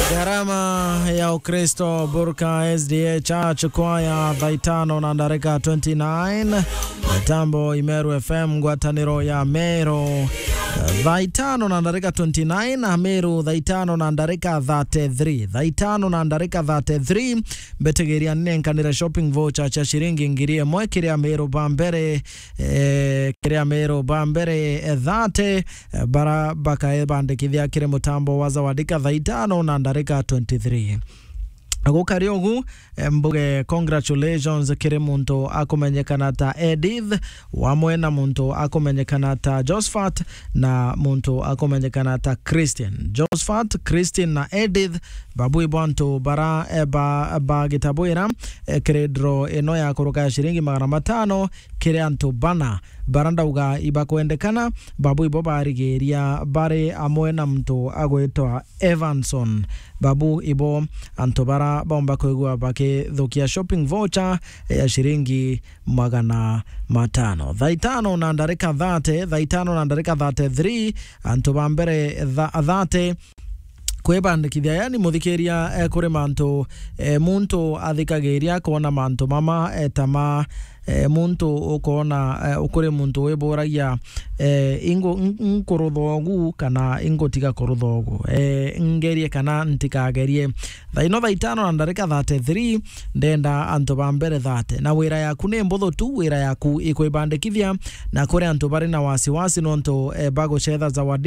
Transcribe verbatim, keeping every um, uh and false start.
Gharama ya Ukristo, Burka S D A Church Choir, thaa itano na ndarika twenty-nine. Mitambo Imeru F M, ngwataniro ya Meru. Thaa itano na ndarika twenty-nine, na Meru thaa itano na ndarika thirty-three. Thaa itano na ndarika thirty-three, mbetigiria nenkanire shopping voucher cia ciringi ngiri imwe kiria Meru ba mbere, eh, kiria Meru ba mbere, eh, thirty, eh, bara bakaebandikithia kiri mutambo wa Zawadika thaa itano na ndarika twenty-three. Gukari ugu, eh, mbuge congratulations kiri muntu akumenyekana ta Edith, wamwe na muntu akumenyekana ta Josephat, na muntu akumenyekana ta Christian. Josephat, Christian na Edith, babu ibo antu bara, eh, ba, bagitabwira, eh, kiri draw ino ya kuruka ya ciringi magana matano, kiri antu bana bara ndauga ibakwendekana, babu ibo barigiria bari amwe na muntu agwitwa Evanson. Babu ibo antu bara baumba kwigua bakithukia shopping voucher ya ciringi magana matano. Thaa itano na ndarika thirty, thaa itano na ndarika thirty-three, antu ba mbere tha-, thirty, kwibandikithia, yani, muthikiria, eh, kuri mantu, eh, muntu athikagiria kwona mantu mama, eh, ta ma, eh, muntu ukona, eh, ukuri muntu wiburagia, eh, ingu-, in-, inkurutha ugu kana ingutiga kurutha ugu, eh, ngerie kana ntikagerie. Thaa ino thaa itano na ndarika thirty-three, ndenda antu ba mbere thirty. Na wira yaku ni mbuthu tu, wira yaku ikwibandikithia, na kuri antu bari na wasiwasi nontu, eh, bagucetha Zawadi